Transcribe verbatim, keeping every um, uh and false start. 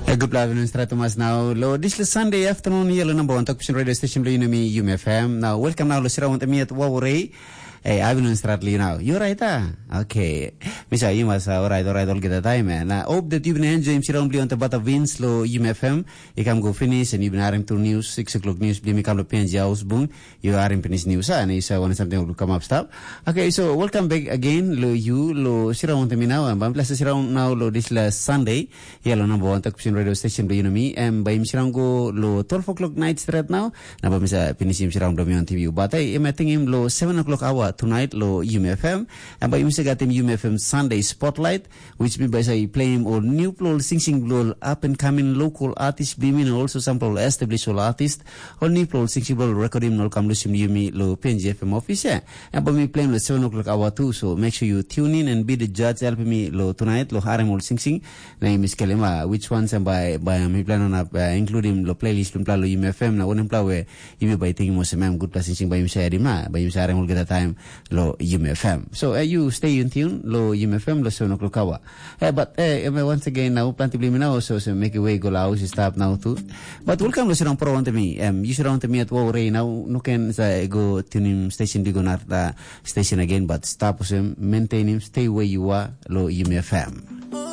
Good afternoon, Stratomas. Now, lo, this is Sunday afternoon here, lo number one talk radio station, lo, you know me, U M F M. Now, welcome now, lo, Sira want me at Wawarei. Hey, I've been on Stratly now. You're right, ah? Okay. Misa, you must, uh, all right, all right, all get the time, man. I hope that you've been enjoying Sira on the Bata Vince, lo, U M F M. You can go finish and you've been hearing through news, six o'clock news, bli mi kam lo P N G House Bung. You are in Pinis News, ah, and you say one something will come up, stop. Okay, so welcome back again, lo, you, lo, Sira want me now, and Bam Plaza Sira now, lo, this last Sunday. Ia lo number one talk radio station blo yunumi. Em bai mi sirang go lo twelve o'clock night straight now. Na bai mi sa finisim sirang blo mi on T V. But hey, em ating im lo seven o'clock hour tonight lo U M F M. Em bai mi sa gatim U M F M Sunday Spotlight, which mi bai sa play him all new plo sing sing blo up and coming local artist bli mi, and also some plo established all artist. All new plo sing sing blo record him no kam lusim yumi lo P N G F M office. Yeah. Em bai mi play him lo seven o'clock hour too. So make sure you tune in and be the judge, help me lo tonight lo harim all sing sing. Na yumi skelim, ah, which ones em bai, bai em mipela no inap, ah, include him lo playlist bilong mipela lo U M F M, na wanem pla we yumi bai tingim olsem em gutpela singsing bai yumi sharim, ah, bai yumi sharim olgeta taim lo U M F M. So, eh, you stay in tune lo U M F M lo seven o'clock hour. Eh, but, eh, em, eh, once again, now planti bilong mi now, so, so make way go lo haus i stap now too. But welcome lo sirang pro wantaim mi, em, you sirang wantaim mi at wo rei now, no ken sa go tunim station bigo na, ah, station again, but stap olsem, maintain him, stay where you are lo U M F M.